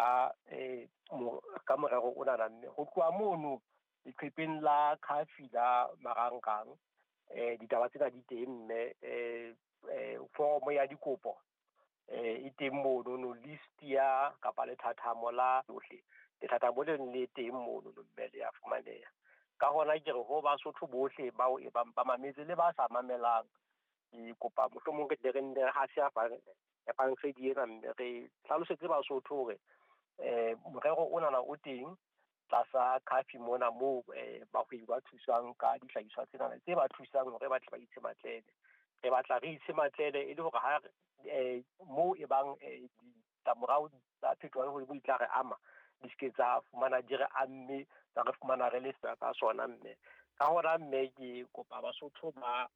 Ka ka morero onana mme. Ho tloha mono leqhepeng la Khafi la marangrang, ditaba tsena di teng mme, foromo ya dikopo e teng monono, list ya kapa lethathamo la yohle. Lethathamo leno le teng monono mme le ya fumaneha. Ka hona ke re ho Basotho bohle bao e bang ba mametse le ba sa mamelang, ke kopa mohlomong re tle re nne re hase efankgedi ena mme re hlalosetse Basotho hore morero onana o teng tlasa Khafi mona moo bahwebi ba thuswang ka dihlahiswa tsena tse ba thusang hore ba tle ba itshematlele. Re batla re itshematlele e le hore ha moo e bang ditlamorao tsa phetoho ya lehodimo di tla re ama, di se ke tsa fumana di re amme, tsa re fumana re le ka sona mme. Ka hona mme ke kopa Basotho ba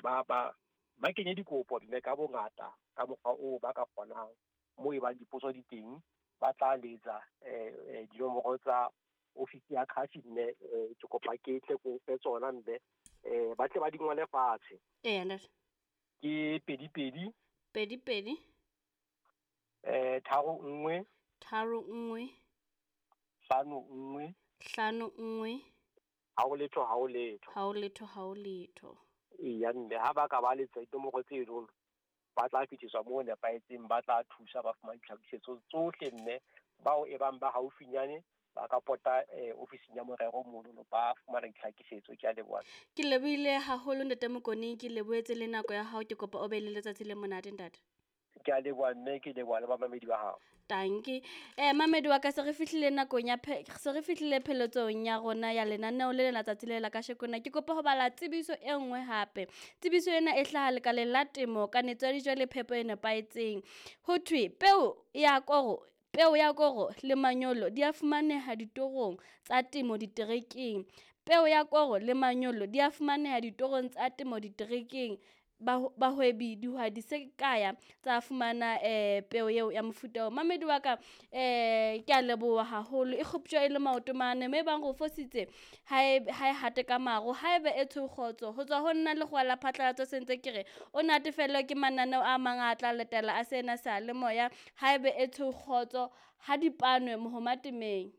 ba ba ba kenye dikopo mme ka bongata ka mokgwa oo ba ka kgonang. Moo e bang dipotso di teng, ba tla letsa dinomoro tsa ofisi ya Khafi mme, ke kopa ke tle ko fe tsona mme, ba tle ba di ngole fatshe. Eya ntate. Ke 2 2 2 2 3 1 3 1 5 1 5 1 ha o letho ha o letho. Ha o letho ha o letho. Eya mme, ha ba ka ba letsa dinomoro tseno, ba tla fitiswa moo nepahetseng, ba tla thusa ba fumana ditlhakisetso tsohle mme. Bao e bang ba haufinyane ba ka pota ofising ya morero mono, ba fumana ditlhakisetso. Ke a leboha. Ke lebohile haholo ntate Mokone, ke lebohetse le nako ya hao, ke kopa o be le letsatsi le monate ntate. Ke a leboha mme, ke leboha le bamamedi ba hao. Tanki. Mamedi wa ka, se re fihlile nakong ya se re fihlile pheletsong ya rona ya lenaneo le lena tsatsi le la kasheko na. Ke kopa ho bala tsebiso e nngwe hape. Tsebiso ena e hlaha lekaleng la temo, kanetso ya dijo le phepo e nepahetseng. Ho thwe peo ya koro, peo ya koro le manyolo di a fumaneha ditorong tsa temo diterekeng. Peo ya koro le manyolo di a fumaneha ditorong tsa temo diterekeng. Bahwebi dihwai di se kaya tsa fumana peo eo ya mofuta oo. Mamedi wa ka, ke a leboha haholo. E kgoptjwa e le maoto mane, mme ebang re o fositse ha e hate ka maro, haebe e tshweu kgotso. Ho tswa ho nna lekgowa la phatlalatso se ntse ke re o natefellwe ke mananeo a mang a tla latela a sena sa le moya. Haebe e tshweu kgotso, ha di panwe mohoma temeng.